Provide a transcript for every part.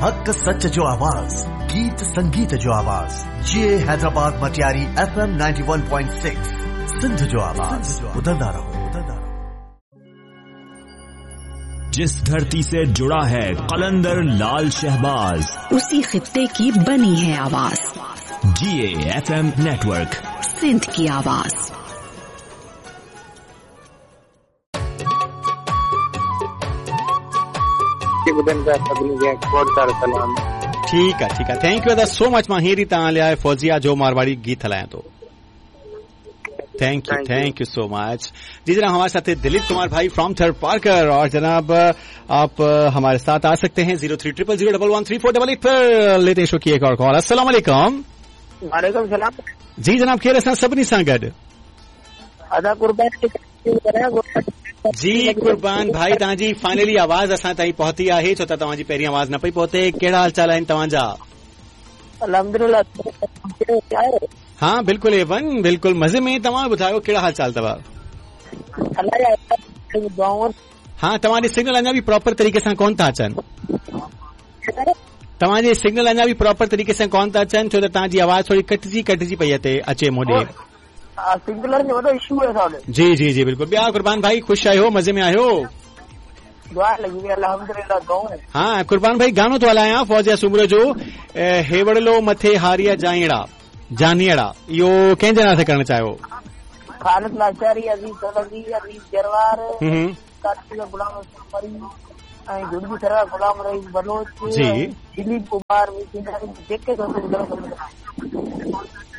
हक़ सच जो आवाज़, गीत संगीत जो आवाज़, जी हैदराबाद मटियारी FM 91.6 Sindh जो आवाज़। ॿुधंदा रहो, ॿुधंदा रहो। जिस धरती से जुड़ा है कलंदर लाल शहबाज, उसी खित्ते की बनी है आवाज। जीए एफएम नेटवर्क, सिंध की आवाज। ठीकु आहे, ठीकु आहे, thank you अदा सो मच। मां हींअर ई तव्हां लाइ फौजिया जो मारवाड़ी गीत हलायां थो। Thank you, thank you so much. जी जनाब, हमारे साथ दिलीप कुमार भाई फ्रॉम थर्ड पार्कर, और जनाब आप हमारे साथ आ सकते हैं 0300011348 पर। लेते हैं शो की एक और कॉल। अस्सलाम वालेकुम। वालेकुम सलाम। जी जनाब, केरु असां सभिनी सां गॾु? अदा कुर्बान। जी कुर्बान भाई, तव्हांजी फाइनली आवाज़ असां ताईं पहुती आहे, छो त तव्हांजी पहिरीं आवाज़ न पई पहुते। कहिड़ा हाल चाल आहिनि तव्हांजा? अल्हम्दुलिल्लाह। हा बिल्कुल एवन, बिल्कुल मज़े में। तव्हां ॿुधायो कहिड़ा हाल चाल अथव? हा, तव्हांजे सिग्नल अञा बि प्रॉपर तरीक़े सां कोन था अचनि। तव्हांजे सिग्नल अञा बि प्रॉपर तरीक़े सां कोन था अचनि, छो त तव्हांजी आवाज़ थोरी कटिजी कटिजी पई अचे मोॾे। सिग्नल जो वॾो इशू आहे असां वटि। जी जी जी बिल्कुल। ॿिया कुर्बान भाई, ख़ुशि आहियो, मज़े में आहियो? दुआ लॻी वई, अल्हम्दुलिल्लाह, दुआऊं। हा कुर्बान भाई, गानो थो हलायां फौजिया सुमरो जो, हेवड़लो मथे हारिया जाईड़ा जानियड़ा, इहो कंहिंजे नाले करणु चाहियो? खालिद लाचारी, अज़ीज़ सोलंकी, अज़ीज़ जरवार, गुलाम मरी ऐं जुड़बी सरा गुलाम रहीम बलोच, जी दिलीप कुमार, जेके।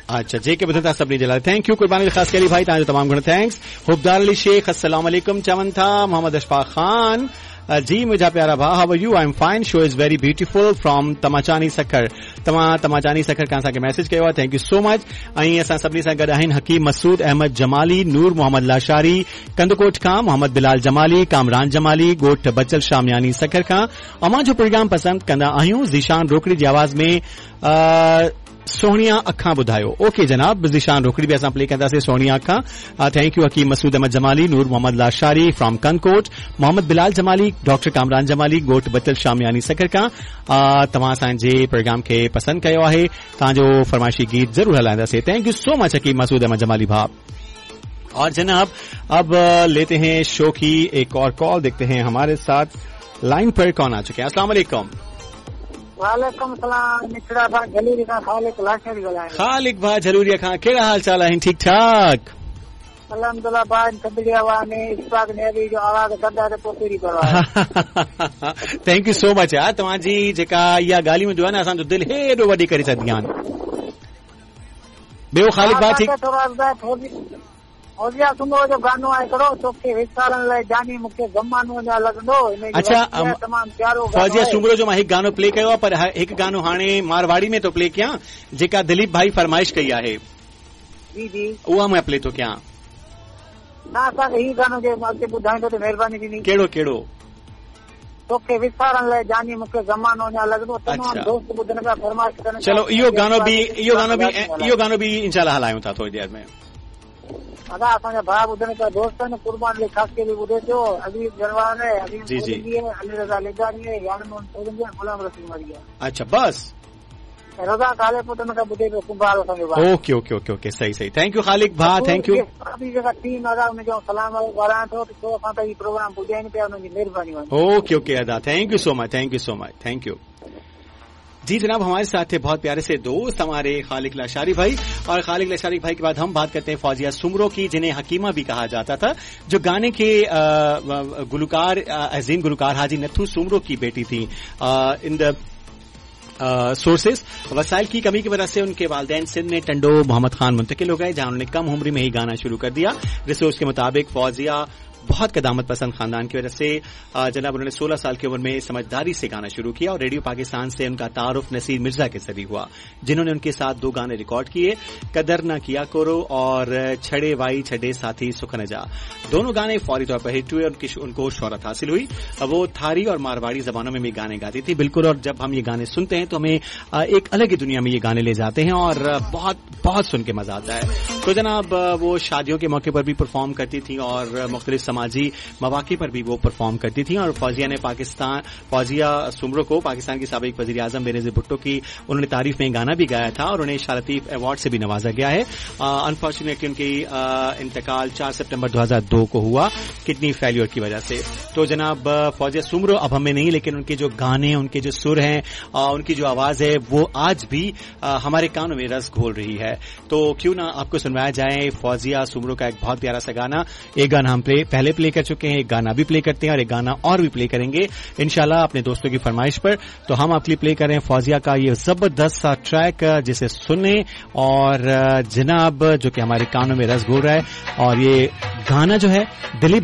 अच्छा, जेके ॿुधनि था सभिनी जे लाइ thank you. कुर्बानी ख़ासि करी भाई, तव्हांजो तमामु घणो thanks. हुबदार अली शेख अस्सलाम वालेकुम चवनि था। मोहम्मद अशफाक खान जी, मुंहिंजा प्यारा भाउ, how are you? I am fine, show is very beautiful from Tamachani Sukkur. तव्हां तमाचानी सखर खां असांखे मैसेज कयो आहे, thank you so much. ऐं असां सभिनी सां गॾु आहिनि हकीम मसूद अहमद जमाली, नूर मोहम्मद लाशारी कंदकोट खां, मोहम्मद बिलाल जमाली, कामरान जमाली ॻोठ बचल शामियानी सखर खां। अव्हां जो प्रोग्राम पसंदि कंदा आहियूं। ज़ीशान रोकड़ी जी आवाज़ में सोहणिया अखां ॿुधायो। ओके जनाब, ज़ीशान रोकड़ी बि असां प्ले कंदासीं सोहणिया अखां। Thank you Hakeem Masood Ahmed Jamali, Noor Mohammad Lashari from Kandhkot, Mohammad Bilal Jamali, doctor Kamran Jamali ॻोठ बचल शामियानी सखर खां। तव्हां असांजे प्रोग्राम खे पसंदि कयो आहे, तव्हांजो फरमाइशी गीत ज़रूरु हलाईंदासीं। Thank you so much Hakeem Masood Ahmed Jamali भाउ। और जनाब अब लेते हैं शो की एक और कॉल, देखते हैं हमारे साथ लाइन पर कौन आ चुके हैं। अस्सलाम वालेकुम। वालेकुम सलाम। मिठड़ा भाउ झलूरी खां खालिक लाशारी ॻाल्हायां। खालिक भाउ झलूरीअ खां, कहिड़ा हाल चाल आहिनि? ठीक ठाक अल्हम्दुलिल्लाह। भाउ, थधड़ी हवा में इशफाक नेवी जो आवाज़ कंदा त पोइ कहिड़ी परवाह। Thank you so much यार, तव्हांजी जेका इहा ॻाल्हियूं हूंदियूं आहिनि असांजो दिलि हेॾो वॾी करे छॾींदियूं आहिनि। ॿियो खालिक भाउ ठीक? फौजिया सुमरो जो गानो आहे हिकिड़ो, तोखे विसारण लाइ जानी मूंखे ज़मानो अञा लॻंदो। अच्छा, तमामु प्यारो फौजिया सुमरो जो मां हिकु गानो प्ले कयो आहे, पर हिकु गानो हाणे मारवाड़ी में थो प्ले कयां, जेका दिलीप भाई फरमाइश कई आहे। जी जी, उहा मां प्ले थो कयां। न, असांखे हीउ गानो जे अॻिते ॿुधाईंदो त महिरबानी थींदी। कहिड़ो कहिड़ो? तोखे विसारण लाइ जानी मूंखे ज़मानो अञा लॻंदो। तमामु दोस्त ॿुधनि पिया, फरमाइश कनि। चलो इहो गानो बि इंशाल्लाह हलायूं था थोरी देरि में। अदा असांजा भाउ ॿुधनि पिया, दोस्त आहिनि, कुर्बान अली ख़ासकेली ॿुधे पियो, अज़ीज़ जरवान आहे, अज़ीज़ जी जी, अली रज़ा लिगानी आहे, यार मोहन सोलंगी आहे, गुलाम रसूल मरी आहे। अच्छा बस रज़ा काले पुट खां ॿुधे पियो कुंभार असांजो भाउ। ओके ओके ओके ओके, सही सही, thank you Khaliq भाउ, thank you. अभी जेका टीम अदा उनजो सलाम ॻाल्हायां थो त छो असां त हीउ प्रोग्राम ॿुधाइनि पिया, उन्हनि जी महिरबानी। ओके ओके अदा, thank you so much, thank you so much, thank you. जी जनाब, हमारे साथ थे बहुत प्यारे से दोस्त हमारे खालिक लाशारी भाई। और खालिक लाशारी भाई के बाद हम बात करते हैं फौजिया सुमरो की, जिन्हें हकीमा भी कहा जाता था, जो गाने के गुलकार अजीम गुलकार हाजी नथु सुमरो की बेटी थी। इन the sources वसाइल की कमी की वजह से उनके वालदैन सिंध में टंडो मोहम्मद खान मुंतकिल हो गए, जहां उन्होंने कम उम्र में ही गाना शुरू कर दिया। रिसोर्स के मुताबिक फौजिया बहुत कदामत पसंद खानदान की वजह से जनाब उन्होंने 16 साल की उम्र में समझदारी से गाना शुरू किया और रेडियो पाकिस्तान से उनका तारुफ नसीर मिर्जा के जरिए हुआ, जिन्होंने उनके साथ 2 गाने रिकॉर्ड किए, कदर ना किया करो और छड़े वाई छड़े साथी सुखन जा। दोनों गाने फौरी तौर पर हिट हुए और उनको शोहरत हासिल हुई। वो थारी और मारवाड़ी जबानों में भी गाने गाती थी बिल्कुल, और जब हम ये गाने सुनते हैं तो हमें एक अलग ही दुनिया में ये गाने ले जाते हैं और बहुत बहुत सुन के मजा आता है। तो जनाब वो शादियों के मौके पर भी परफॉर्म करती थी और मुख्तलिफ समाजी मवाक़े पर भी वो परफॉर्म करती थी। और फौजिया ने फौजिया सुमरो को पाकिस्तान की साबिक वज़ीर आज़म बेनज़ीर भुट्टो की उन्होंने तारीफ में गाना भी गाया था और उन्हें शाह लतीफ अवार्ड से भी नवाजा गया है। अनफॉर्चुनेटली उनकी इंतकाल 4 सितंबर 2002 को हुआ किडनी फेलियर की वजह से। तो जनाब फौजिया सुमरो अब हमें नहीं, लेकिन उनके जो गाने, उनके जो सुर हैं, उनकी जो आवाज है वो आज भी हमारे कानों में रस घोल रही है। तो क्यों ना आपको सुनवाया जाए फौजिया सुमरो का एक बहुत प्यारा सा गाना। एक गाना हम पहले प्ले कर चुके हैं, एक गाना भी प्ले करते हैं और एक गाना और भी प्ले करेंगे इंशाल्लाह अपने दोस्तों की फरमाइश पर। तो हम आपके लिए प्ले कर रहे हैं फौजिया का ये जबरदस्त सा ट्रैक जिसे सुने और जनाब जो कि हमारे कानों में रस घोल रहा है। और ये गाना जो है दिलीप भाई